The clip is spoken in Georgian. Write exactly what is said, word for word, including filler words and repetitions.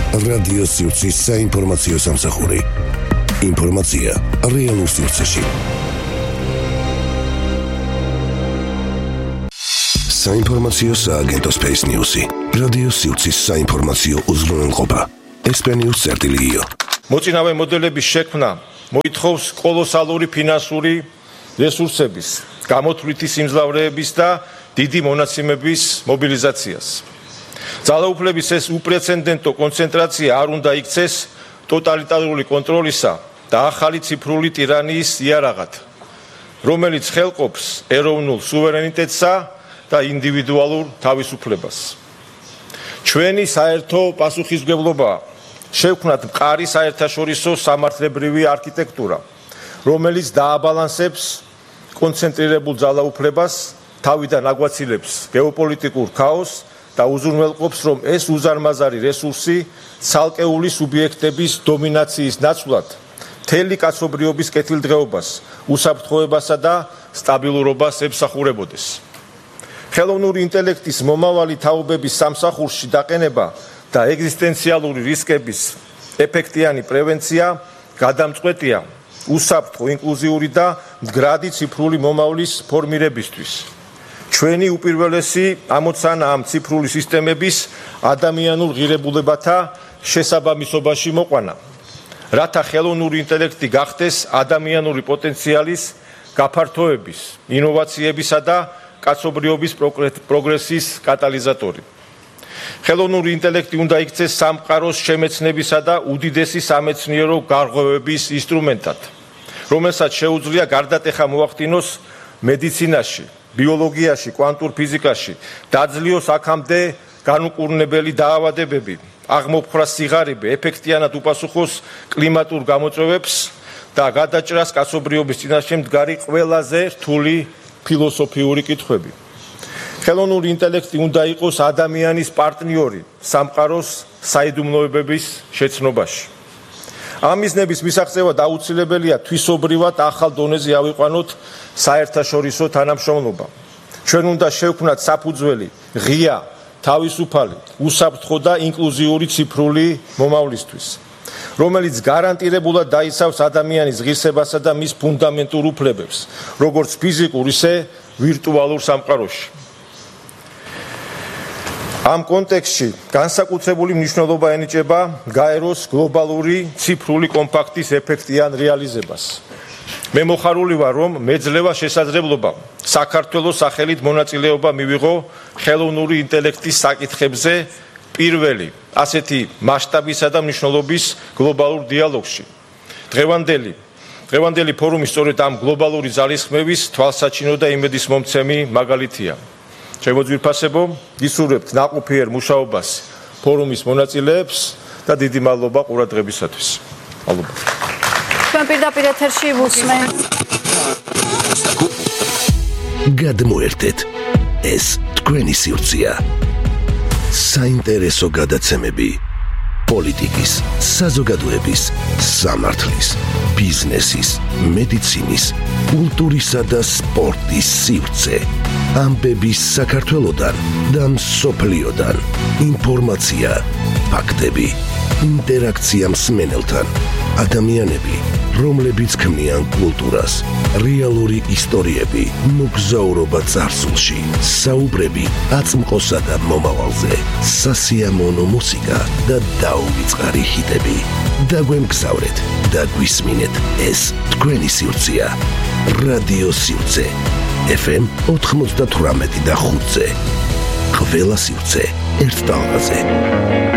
რადიო სივრცის საინფორმაციო სამსახური. ინფორმაცია რეალურ სივრცეში. საინფორმაციო სააგენტო Space News-ი. რადიო სივრცის საინფორმაციო უზრუნველყოფა. ესპანიურ წერტილიო. მოწინავე მოდელების შექმნა მოითხოვს კოლოსალური ფინანსური რესურსების, გამოთვლითი სიმძლავრეების და დიდი მონაცემების მობილიზაციას. ძალაუფლების ეს უპრეცედენტო კონცენტრაცია არ უნდა იქცეს ტოტალიტარული კონტროლისა და ახალი ციფრული ტირანიის იარაღად, რომელიც ხელყოფს ეროვნულ სუვერენიტეტსა და ინდივიდუალურ თავისუფლებას. ჩვენი საერთო პასუხისმგებლობაა შევქმნათ მყარი საერთაშორისო სამართლებრივი არქიტექტურა, რომელიც დააბალანსებს კონცენტრირებულ ძალაუფლებას, თავიდან აგვაცილებს გეოპოლიტიკურ ქაოსს და უზრუნველყოფს, რომ ეს უზარმაზარი რესურსი ცალკეული სუბიექტების დომინაციის ნაცვლად მთელი კაცობრიობის კეთილდღეობას, უსაფრთხოებასა და სტაბილურობას ემსახურებოდეს. ხელოვნური ინტელექტის მომავალი თაობების სამსახურში დაყენება და ეგზისტენციალური რისკების ეფექტიანი პრევენცია გადამწყვეტია უსაფრთხო, ინკლუზიური და მდგრადი ციფრული მომავლის ფორმირებისთვის. ჩვენი უპირველესი ამოცანა ამ ციფრული სისტემების ადამიანურ ღირებულებათა შესაბამისობაში მოყვანა, რათა ხელოვნური ინტელექტი გახდეს ადამიანური პოტენციალის გაფართოების, ინოვაციებისა და კაცობრიობის პროგრესის კატალიზატორი. ხელოვნური ინტელექტი უნდა იქცეს სამყაროს შემეცნებისა და უდიდესი სამეცნიერო გარღვევების ინსტრუმენტად, რომელსაც შეუძლია გარდატეხა მოახდინოს მედიცინაში, ბიოლოგიაში, კვანტურ ფიზიკაში, დაძლიოს აქამდე განუკურნებელი დაავადებები, აღმოფხრას სიღარიბე, ეფექტიანად უპასუხოს კლიმატურ გამოწვევებს და გადაჭრას კაცობრიობის წინაშე მდგარი ყველაზე რთული ფილოსოფიური კითხვები. ხელოვნური ინტელექტი უნდა იყოს ადამიანის პარტნიორი სამყაროს საიდუმლოებების შეცნობაში. ამ მიზნების მისაღწევად აუცილებელია თვისობრივად ახალ დონეზე ავიყვანოთ საერთაშორისო თანამშრომლობა. ჩვენ უნდა შევქმნათ საფუძველი ღია, თავისუფალი, უსაფრთხო და ინკლუზიური ციფრული მომავლისთვის, რომელიც გარანტირებულად დაიცავს ადამიანის ღირსებასა და მის ფუნდამენტურ უფლებებს, როგორც ფიზიკურ, ისე ვირტუალურ სამყაროში. ამ კონტექსტში განსაკუთრებული მნიშვნელობა ენიჭება გაეროს გლობალური ციფრული კომპაქტის ეფექტიან რეალიზებას. მე მოხარული ვარ, რომ მეძლევა შესაძლებლობა საქართველოს სახელით მონაწილეობა მივიღო ხელოვნური ინტელექტის საკითხებზე პირველი ასეთი მასშტაბისა და მნიშვნელობის გლობალურ დიალოგში. დღევანდელი დღევანდელი ფორუმი სწორედ ამ გლობალური ძალისხმევის თვალსაჩინო და იმედისმომცემი მაგალითია. შემოძვირფასებო, გისურვებთ ნაყოფიერ მუშაობას ფორუმის მონაწილეებს და დიდი მადლობა ყურადღებისათვის. მადლობა. ჩვენ პირდაპირ ეთერში ვუსმენთ. გადმოერთეთ, ეს თქვენი სივრცეა. საინტერესო გადაცემები პოლიტიკის, საზოგადოების, სამართლის, ბიზნესის, მედიცინის, კულტურისა და სპორტის სივრცე. ამბები საქართველოდან და მსოფლიოდან. ინფორმაცია, ფაქტები, ინტერაქცია მსმენელთან. ადამიანები, რომლებიც ქმნიან კულტურას, რეალური ისტორიები, მოგზაურობა წარსულში, საუბრები აწმყოსა და მომავალზე, სასიამოვნო მუსიკა და დაუვიწყარი ჰიტები. დაგვემგზავრეთ და გვისმინეთ, ეს თქვენი სივრცეა. რადიო სივრცე ეფ ემ ოთხმოცდათვრამეტი და ხუთზე. ყველა სივრცე ერთ ტალღაზე.